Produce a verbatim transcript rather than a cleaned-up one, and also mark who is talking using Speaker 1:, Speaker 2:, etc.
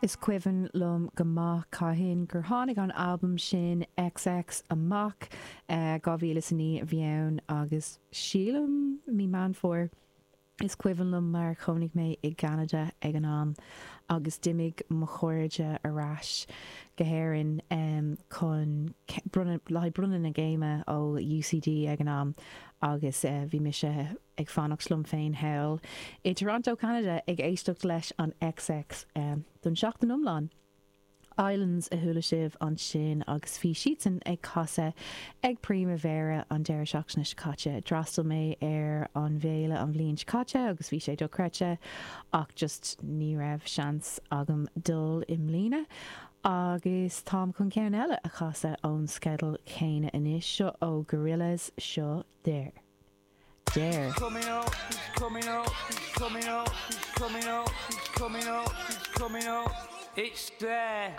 Speaker 1: Is cuimhin liom go maith cathain gur tháinig an albam sin X X amach, dhá mhíle is a naoi a bhí ann agus sílim mí Meán Fómhair. Is cuimhin liom mar chónaigh mé i gCeanada ag an am agus d'imigh mo chairde ar ais go hÉirinn chun bronnadh le haghaidh bronnadh na gcéime ó U C D ag an am agus bhí mise ag fanacht liom féin thall i Toronto, Canada, ag éisteacht leis an X X don seachtain iomlán. Islands a chuala sibh ansin agus bhí siadsan ag casadh ag Primavera an deireadh seachtaine seo caite. D'fhreastail mé ar an bhféile an bhliain seo caite agus bhí sé dochreidte, ach just ní raibh seans agam dul i mbliana. Agus táim chun ceann eile a chasadh ón sceideal céanna anois, seo ó Gorillaz, seo There. There.
Speaker 2: Coming up, it's coming up, it's coming up, it's coming up, it's coming up, it's coming up. It's there.